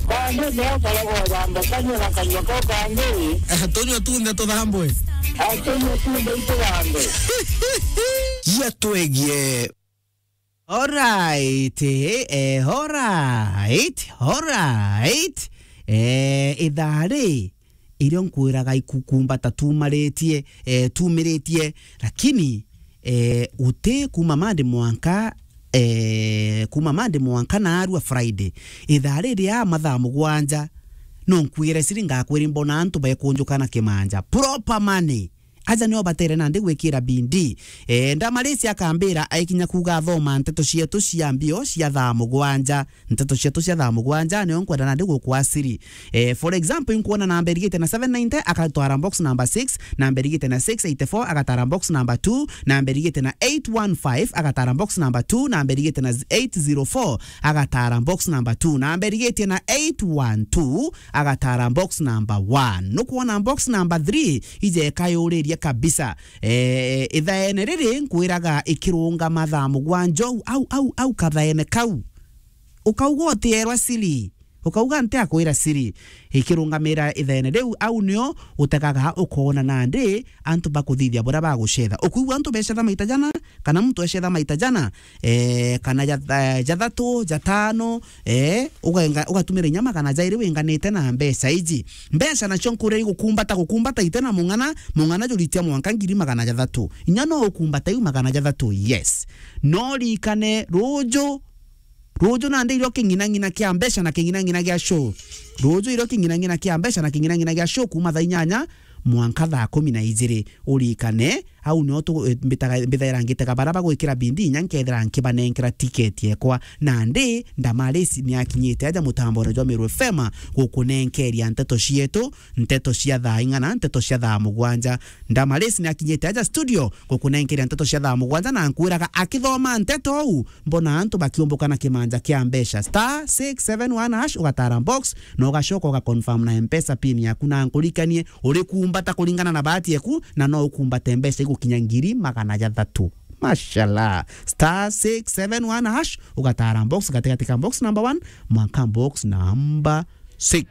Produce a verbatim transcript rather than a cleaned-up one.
Kangĩ nĩ ũkoragwo thamba kanyua na kanyua kau kangĩ. Eh, tũnyua tunthe tũthambwe. Atũnyua tunthe itũthambwe. Cia twegie. Alright, eh, alright, alright. Eh, ithaa rĩ, irio nkwiraga ikukumbata tumaritie, eh, tumiritie, lakini, eh, uti kuma Monday mwanka, eh, kuma Monday mwanka naarua Friday. Ithaa riri ya mathaa mugwanja, no nkwire siri ngakwiri mbona antu bekunjuka na kimanja. Proper money. Aja nio batere nandi gwikira bindi. Eh, Ndamarisi akambira aikinya kuuga athoma nteto cietu cia mbio cia thaa mugwanja. Nteto cietu cia thaa mugwanja nio nkwenda nandi gukwasiri. Eh, for example, inkwona namba irigite na seven ninety, agatwara box number six, namba irigite na six eighty-four, agatara box number two, namba irigite na eight one five, agatara box number two, namba irigite na eight zero four, agatara box number two, namba irigitie na eight one two, agatara box number one. Nukwona box number three, ije ikayuririe kabisa. Eh, ithaene riri nkwiraga ikirungama thaa mugwanja au, au, au, au kathaene kau. Ukauga utierwa siri. Ukauga nti akwira siri. Ikirungamira ithaene riu, au nio utegaga ukoona nandi antu bakuthithia buria bagucetha. Ukwigua antu becetha maita jana, kana muntu ecetha maita jana, eh, kana ja-, eh, jathatu, jatano, eh, ugenga-, ugatumira inya magana jairi winganite na mbeca iji. Mbeca nacio nkuria igukumbata, gukumbata ite na mung'ana, mung'ana juritia mwanka ngiri magana jathatu. Inya no ukumbata iu magana jathatu, yes. No ririkane ruju, ruju nandi irio king'inang'ina kia mbeca na king'inang'ina gia show. Ruju irio king'inang'ina kia mbeca na king'inang'ina gia show kuma thaa inyanya mwanka thaa kumi na ijiri. Urikane, au nio tu-, eh, mbitaga, mbithaira ngitega bara bagwikira bindi inya nkethira nkibanenkera ticket yekwa. Nandi, Ndamarisi ni akinyite aja mutambone jwa Meru F M gukunenkeria nteto cietu, nteto cia thaa ing'ana, nteto cia thaa mugwanja. Ndamarisi ni akinyite aja studio gukunenkeria nteto cia thaa mugwanja na nkwiraga akithoma nteto au, mbona antu bakiumbuka na kimanja kia mbeca. Star six seven one hash, ugatara box, na ugacoka ugaconfirm na Mpesa pin yaku, na nkurikanie, urikumbata kuringana na bahati yaku, na no ukumbate mbeca igukinya ngiri magana jathatu. Mashallah. Star six seven one hash, ugatara box, gatigati ka box number one mwanka box number six.